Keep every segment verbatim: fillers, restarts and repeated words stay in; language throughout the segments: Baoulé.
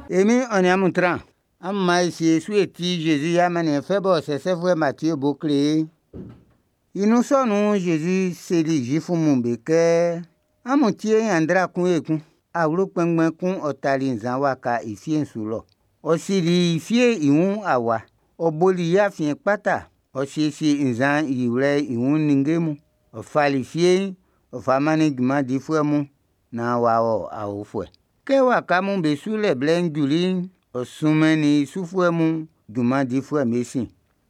E Min'n ɔ nin amun tran. Amun man e sie e su e tie Jésus i amanniɛn fɛ bɔ sɛsɛfuɛ Matie bo kle ye'n. I nun sɔ nun'n, Jésus seli Zuif mun be kɛ: Amun tie nyanndra kun ekun. Awlo kpɛnngbɛn kun ɔ tali nzan waka i fie'n su lɔ. Ɔ sili i fie'n i wun awa, ɔ boli i afiɛn kpata, ɔ siesieli nzan yiwlɛ'n i wun ninnge mun. Ɔ fali fie'n ɔ fa mannin junman difuɛ mun nan ɔ'a wɔ aofuɛ. Kɛ waka mun be sulɛ blɛ'n juli'n, ɔ sunmɛnnin i sufuɛ mun junman difuɛ'm bé sin,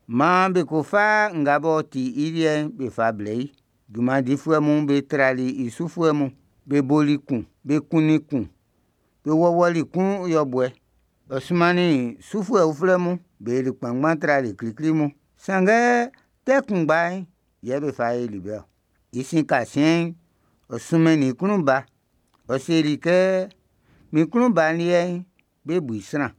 man be ko fa nga b'ɔ ti i liɛ'n be fa blɛ i. Junman difuɛ mun be trali i sufuɛ mun, be boli kun, be kunnin kun, be wɔwɔli kun yɔbuɛ. Ɔ sunmannin sufuɛ uflɛ mun, be yoli kpanngban trali klikli mun, sanngɛ tɛ kunngba'n yɛ be fa yoli be-ɔ. I sin kasiɛn'n, ɔ sunmɛnnin i klun ba, ɔ seli kɛ: Min klun ba liɛ'n, be ʼbu i sran.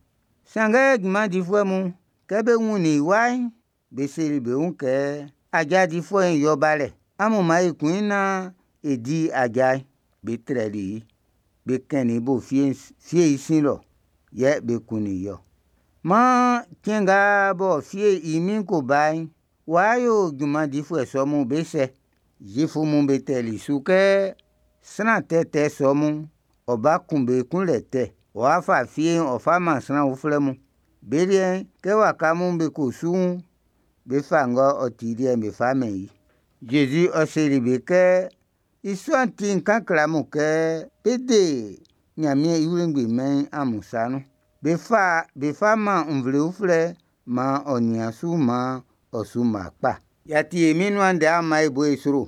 Sanngɛ junman difuɛ mun, kɛ be wunnin i wa'n, be seli bé wun kɛ: Aja difuɛ'n yɛ ɔ ʼba lɛ, amun man e kun i nan e di i aja'n. Be trɛli i, be kɛnnin i bo fie'n i sin lɔ, yɛ be kunnin i-ɔ. Man cɛn nga bɔ fie'n i min'n ko ba'n, ɔ wa yo junman difuɛ sɔ mun be sɛ? Zuif mun be tɛli su kɛ: Sran tɛtɛ sɔ mun'n, ɔ ʼba kun be kunlɛ tɛ, ɔ wa fa fie'n ɔ ʼfa man sran uflɛ mun. Be liɛ'n, kɛ waka mun be ko su'n, be ʼfa ng'ɔ ti i liɛ'n be fa mɛn i. Jésus ɔ seli be kɛ: I sɔ'n ti n kan kle amun kɛ be ʼde Nyanmiɛn i wlengbi mɛn'n amún sa nun. Be ʼfa be fa man nvle uflɛ man ɔ nian su man ɔ su mma kpa. Y'a ti e Min'n nuan ndɛ, an man e bo i sro.